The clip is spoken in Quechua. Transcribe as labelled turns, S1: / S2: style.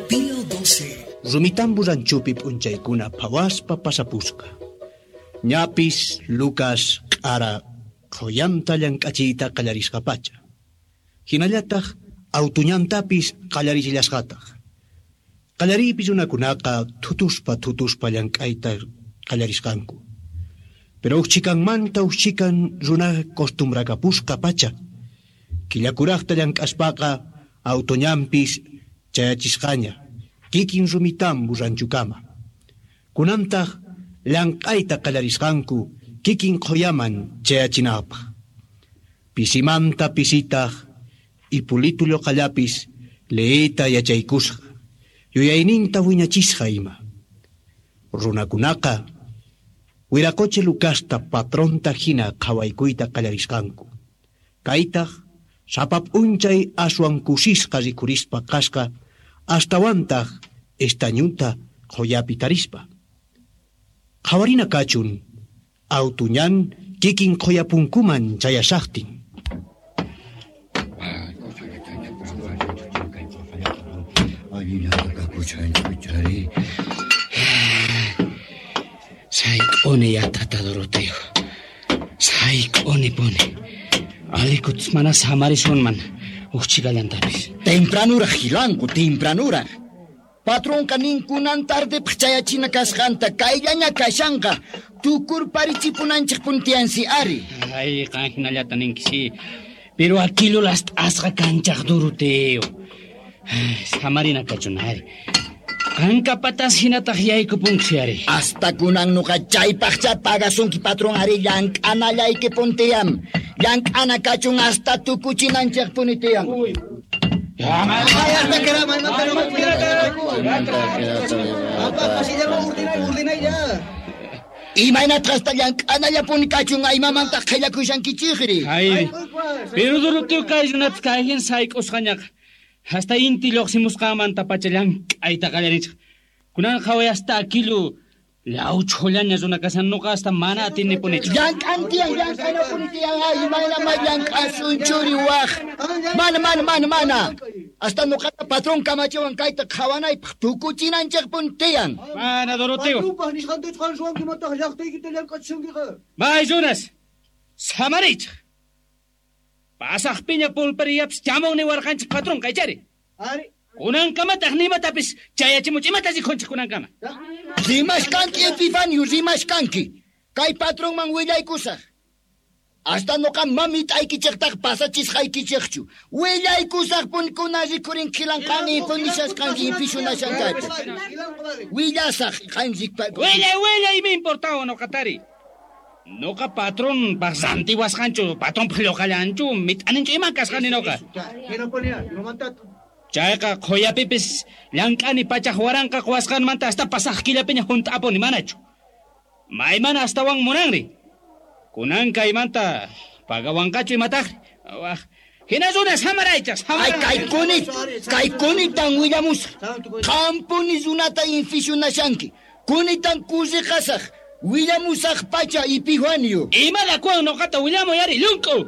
S1: Pío 12.
S2: Rumitambu ranchupi p'unchaykuna phawaspa pasapusqa. Ñapis Lucas q'ara qhuyanta llank'achiyta qallarisqapacha. Hinallataq autuñantapis qallarichillasqataq. Qallariypi runakunaqa thutuspa thutuspa llank'ayta qallarisqanku. Pero uqchikanmanta uqchikan runa costumbrakapusqa pacha. Killakuraqta llank'aspaqa autuñanpis chayachisqaña. Kikin Rumitambu ranchukama. Kunantaq llank'ayta qallarisqanku kikin qhuyaman chayachinapaq. Pisimanta pisitaq Ipulitu lluqallapis leeyta yachaykusqa, yuyayninta wiñachisqa ima. Runakunaqa Wiraqochi Lucasta patronta hina qhawaykuyta qallarisqanku. Kaytaq sapa p'unchay aswan kusisqa rikhurispa kasqa astawantaq estañunta qhuyapi tarispa. Qhawarina kachun autuñan kikin qhuyapunkuman chayashaqtin.
S3: Sayk'uni yatata Doroteo. Sayk'uni puni. Alikuts mana samarisunman uqchikallantapis.
S4: Tempranura hilanku, tempranura. Patronqa ninkunan tardepaq chayachina kasqanta kayllaña kashanqa tukurparichipunanchik puntiansi ari.
S3: Ay, qan hinallata ninki Pero aquilo las asqa kanchaq Doroteo. Samarina kachun ari. Qanka patas hinataq yaykupunki ari.
S4: Hasta kunan nuqa chaypaqcha pagasunki patron ari llank'anallayki puntiyam. Llank'ana kachun hasta tukuchinanchik punitiyan. Imaynataq hasta llank'anallapuni kachun aymamantaq qhillakushankichikri.
S3: Ay, pero Doroteo kay runata kayhin sayk'usqañaqa. Hasta inti lluqsimusqanmanta pacha llank'ayta qallarinchik. Kunan qhaway hasta akilu llawchhullaña runa kashan nuqa hasta mana atinipunichu.
S4: Llank'an tiyan, llank'anapuni tiyan, ay, imayna may llank'asun churi waq. Mana, mana, mana, mana. Hasta nuqata patron kamachiwan kayta qhawanaypaq tukuchinanchikpuni tiyan.
S3: Mana, Doroteo. May runas, samariychik. Pasaqpiña pulpariyapis chamun niwarqanchik patron kaychari. Kunankamataq nimatapis chayachimuch imata rikhunchik kunankama.
S4: Rimashkanki Epifanio, rimashkanki. Kay patronman willaykusaq. Hasta nuqa mamit'aykichiktaq pasachisqaykichikchu. Willaykusaq punkuna rikhurin khilanqani punishasqanki infishunashankaypi. Willasaq qan rikpa.
S3: Willay, willay, ima importawa nuqatari. Nuqa patron paq rantiwasqanchu, patron lluqallanchu, mit'aninchu ima kasqani nuqa. Chayqa qhuyapipis llank'ani pachaq waranqa quwasqanmanta hasta pasaq killapiña hunt'apuni manachu. Maymana astawan munanri. Kunan kaymanta pagawanqachu imataqri. Waq. Hina runa samaraychaq,
S4: Ay,
S3: samaray.
S4: kaykunitan willamusaq. Qampuni runata infishunashanki. Kunitan kusiqasaq. Willamusaq pacha Epifanio.
S3: Imada kuwan nuqata willamuy ari, llunk'u.